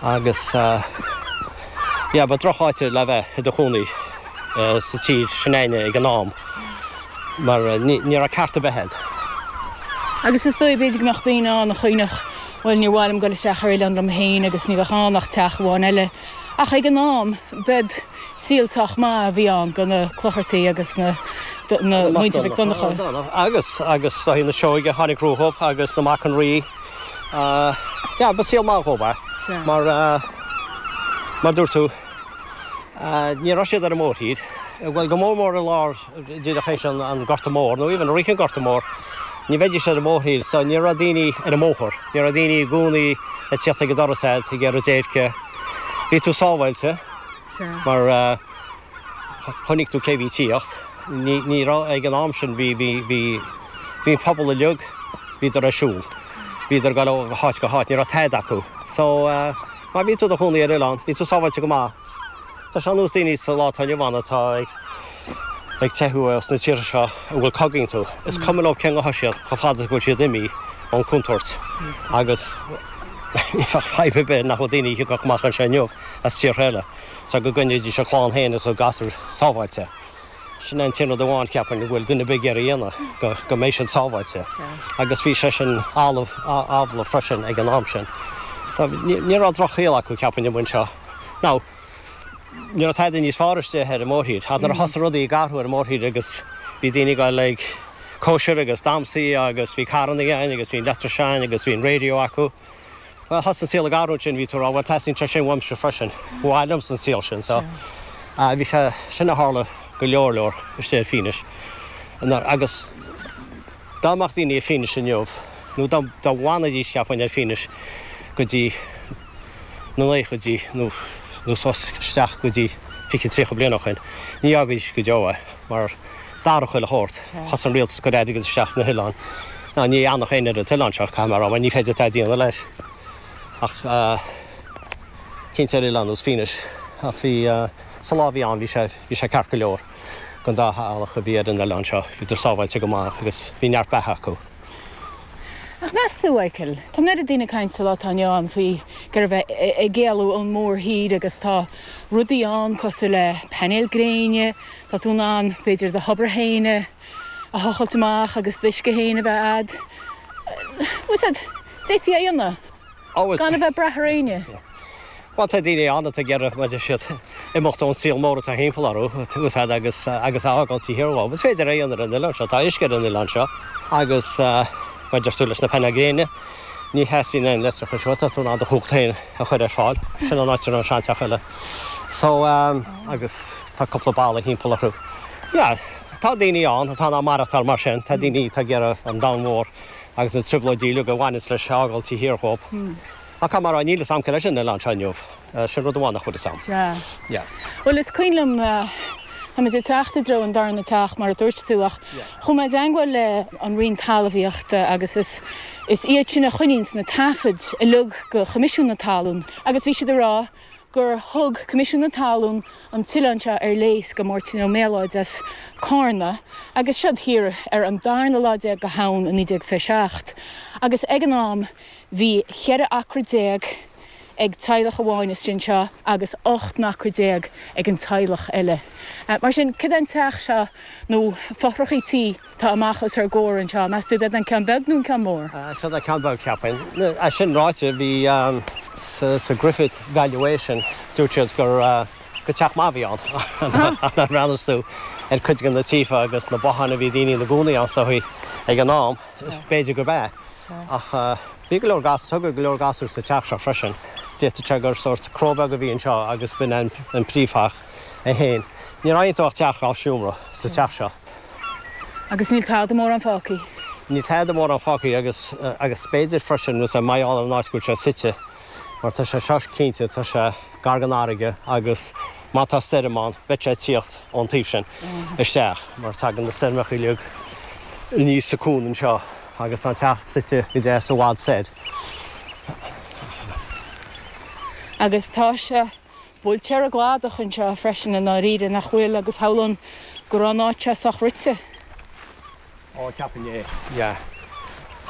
Agus yeah, ba droch-áit le bheith i do chónaí sa tír sin againne ag an am mar ní raibh ceart ar bith a'd. Agus is dóigh, b'fhéidir go mbeadh daoine ann a chuimhneodh, bhuel, níor mhaith liom dul isteach ar oileán liom féin agus ní bheadh ann ach teach amháin eile. Ach ag an am, b'ead saol sách maith a bhí ann do na Clochartaigh agus na muintir Mhic Donncha. Agus, agus do na Seoige a tháinig rompu agus na Mac an Rí. Yeah, ba saol maith dhóibh é. Mar, mar dúirt tú, ní raibh siad ar an mórthír. Bhuel, go mór mór i lár díreach théis an Gorta Mór, nó even i rith an Gorta Mór, ní bheidís ar an mórthír, so ní raibh daoine ar an mbóthar, ní raibh daoine i gcónaí ag tíocht ag an doras a'd ag iarraidh déirce. Bhí tú sábháilte mar chonaic tú cé bhí ag tíocht. Ní, ní raibh ag an am sin, bhí, bhí, bhí, bhí an pobal uilig, bhíodar ar siúl. Bhíodar ag dul ó háit go háit, ní raibh tada acu. So, má bhí tú i do chónaí ar oileán, bhí tú sábháilte go maith. Tá sé ar nós daoine sa lá atá inniu ann atá ag ag teitheadh as na tíortha seo a bhfuil cogaí iontu. Is cuma leo cén dhath siad chomh fada is go bhfuil siad imithe ón contúirt. Agus ní bheadh fadhb ar bith nach bhfuil daoine a thiocfadh amach anseo inniu as tíortha eile so go gcoinneoidís a clann féin agus a gasúir sábháilte. Sin é an t-aon rud amháin, cheapfainn, go bhfuil duine ar bith ag iarraidh a dhéanamh, go go mbeidh siad sábháilte. Agus bhí sé sin amhlaidh amhlaidh freisin ag an am sin. So ní ní raibh drochshaol acu, cheapfainn, amuigh anseo. Now, ní raibh tada níos fearr istigh ar an mórthír. Ach nuair a thosaigh rudaí ag athrú ar an mórthír agus bhí daoine ag dul ag cóisir agus damhsaí agus bhí carrannaí ann agus bhí an leictreachas ann agus bhí an radio acu, Bhuel, thosaigh an saol ag athrú ansin, bhí tú ag rá, bhuel, teastaíonn sé sin uaimse freisin, ba mhaith liomsa an saol sin. So, bhí sé, sin a tharla go leor leor istigh ar Fínis. Agus dá mbeadh daoine ar Fínis inniu, nó dá dá bhfanfaidís, cheapfainn, ar Fínis go dtí na naochaidí nó nó suas isteach go dtí 20, 30 bliain ó shin, ní fhágfaidís go deo é, mar d'athraigh chuile shórt. Thosaigh an rialtas ag cur airgead isteach sna hoileáin. Now ní fhanfadh éinne ar an t-oileán seo, caithfidh mé a rá, mar ní féidir tada a dhéanamh leis. Ach cinnte ar oileán nós Fínis. Ach bhí, sa lá a bhí ann, bhí sé, bhí sé ceart go leor don dá theaghlach a bhí ar an oileán seo. Bhíodar sábháilte go maith agus bhí neart beatha acu. Ach meas tú, Mhichael, tá an oiread daoine ag caint sa lá atá inniu ann faoi go raibh ag éalú ón mórthír agus tá rudaí ann cosúil le painéil gréine, tá tú in ann b'fhéidir do thobar féin a thochailt amach agus d'uisce féin a bheith a'd. Bhfuil 'fhios a'd, d'fhéadfaí é a dhéanamh gan a bheith ag brath ar éinne. Bhuel, tá daoine ann atá ag iarraidh, mar a deir siad, imeacht ón saol mór atá thimpeall orthu, bhfuil 'fhios a'd, agus agus a fhágáil taobh thiar dhóibh. Is féidir é a dhéanamh ar an oileán seo, tá uisce ar an oileán seo agus, mar a deir tú, leis na painéil gréine, ní theastaíonn aon leictreachas uait, tá tú in ann do chumhacht féin a chur ar fáil. Sin an áit a raibh an seanteach eile. So, agus tá cúpla balla thimpeall orthu. Yeah, tá daoine ann atá in ann maireachtáil mar sin, tá daoine atá ag iarraidh an domhan mhór agus na trioblóidí uilig a bhaineanns leis a fhágáil taobh thiar dhóibh. Ach caithfidh mé a rá, níl fhios a'm cé leis an oileán seo inniu. Sin rud amháin nach bhfuil fhios a'm. Sea. Yeah. Bhuel, is cuimhin liom, táimid ag teacht i dtreo an darna teach, mar a dúirt tú, ach chuaigh mé i dteangmháil le an Roinn Talmhaíochta agus is is iad sin a choinníonns na taifid uilig go Choimisiún na Talún agus bhí siad ag rá gur thug Coimisiún na Talún an t-oileán seo ar léas go Máirtín Ó Méalóid as Cárna agus siod thiar ar an darna lá déag go Shamhain i 1927 agus ag an am Bhí 14 acra ag teaghlach amháin istigh anseo agus 18 n-acra ag an teaghlach eile. Mar sin, cad é an teach seo nó fothrachaí tí atá amach os ár gcomhair anseo? Meas tú ab é an ceann beag nó an ceann mór? Seo an ceann beag, cheapfainn. É sin ráite, bhí sa Griffith Valuation, dúirt siad gur gur teach maith a bhí ann. Ach nuair a bhreathnas tú ar cuid de na tithe agus na botháin a bhí daoine ina gcónaí ann is dóigh ag an am, B'fhéidir gurb ea, ach bhí go leor gas, tógadh go leor gasúr sa teach seo freisin. D'fhéadfadh sé gur sórt cró beag a bhí anseo agus b'in é an príomhtheach é féin. Ní raibh iontu ach teach dhá seomra sa teach seo. Agus níl tada mórán fágtha. Níl tada mórán fágtha agus agus b'fhéidir freisin, mar gheall ar an áit go bhfuil sé suite, mar tá sé seo cinnte, tá sé gar don fharraige agus má tá stoirm ann, beidh sé ag tíocht ón taobh sin isteach mar tagann na stoirmeacha uilig aníos sa cuan anseo agus tá an teach suite go deas i bhfad soir. Agus tá sé buailte ar an gcladach anseo freisin i ndáiríre, nach bhfuil, agus shamhlóinn go raibh an áit seo sách rite. Ó, ceapaim é, yeah.